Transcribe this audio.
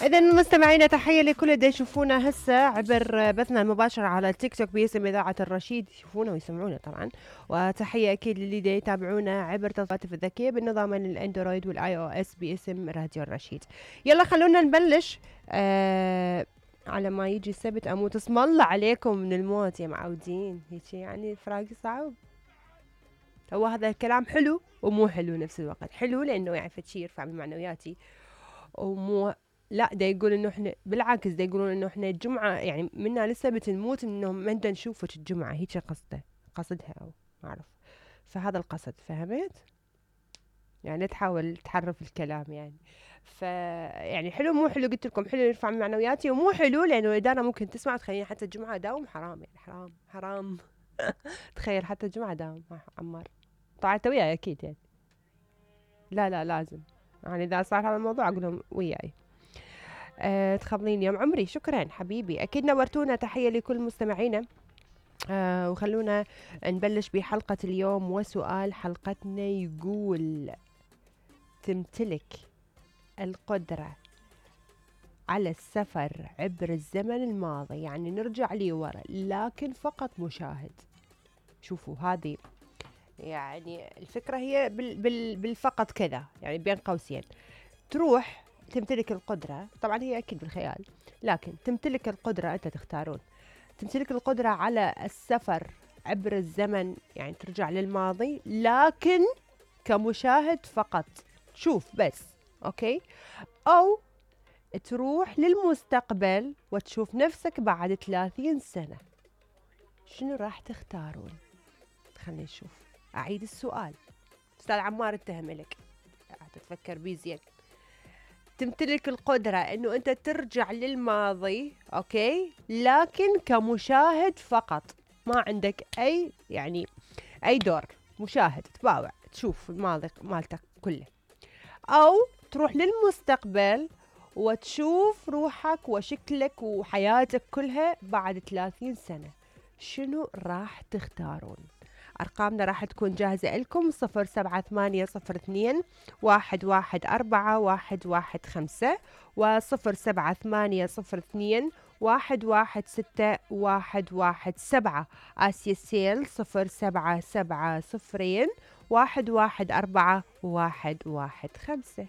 إذا مستمعينا تحية لكل اللي يشوفونا هسه عبر بثنا المباشر على التيك توك باسم إذاعة الرشيد، يشوفونا ويسمعونا طبعا. وتحية أكيد للي دا يتابعونا عبر تطبيقات الذكية بالنظام الأندرويد والآي أو إس باسم راديو الرشيد. يلا خلونا نبلش. على ما يجي السبت أموت، اسم الله عليكم من الموت يا معودين، هيك يعني الفراق صعب. هو هذا الكلام حلو ومو حلو نفس الوقت. حلو لأنه يعني فشي يرفع من معنوياتي، ومو لا دا يقول انه احنا بالعكس دا يقولون انه احنا الجمعة يعني منا للسبت نموت انه ما ندا نشوفك الجمعة، هيك قصدها او ما اعرف. فهذا القصد، فهمت؟ يعني تحاول تحرف الكلام يعني. يعني حلو مو حلو، قلت لكم حلو يرفع من معنوياتي، ومو حلو لانه الاداره ممكن تسمع تخليني حتى الجمعة داوم. حرام يعني، حرام حرام. تخيل حتى الجمعة داوم عمار. طبعا انت وياي اكيد يعني. لا لازم يعني اذا صار هذا الموضوع اقول لهم وياي. تخضلين يوم عمري، شكرا حبيبي، اكيد نورتونا. تحية لكل مستمعينا. وخلونا نبلش بحلقة اليوم، وسؤال حلقتنا يقول: تمتلك القدرة على السفر عبر الزمن الماضي، يعني نرجع لي ورا لكن فقط مشاهد. شوفوا هذه يعني الفكرة هي بالفقط كذا، يعني بين قوسين. تروح تمتلك القدرة، طبعا هي أكيد بالخيال، لكن تمتلك القدرة، أنت تختارون، تمتلك القدرة على السفر عبر الزمن، يعني ترجع للماضي لكن كمشاهد فقط، تشوف بس، أوكي؟ أو تروح للمستقبل وتشوف نفسك بعد 30 سنة. شنو راح تختارون؟ خلينا نشوف. أعيد السؤال، أستاذ عمار اتهم لك، تتفكر بيه زين. تمتلك القدرة انه انت ترجع للماضي، اوكي، لكن كمشاهد فقط، ما عندك اي يعني اي دور، مشاهد تباوع تشوف الماضي مالتك كله. او تروح للمستقبل وتشوف روحك وشكلك وحياتك كلها بعد 30 سنة. شنو راح تختارون؟ أرقامنا راح تكون جاهزة لكم: 07802 114 115 و07802 116 117. آسيا السيل 0770 114 115.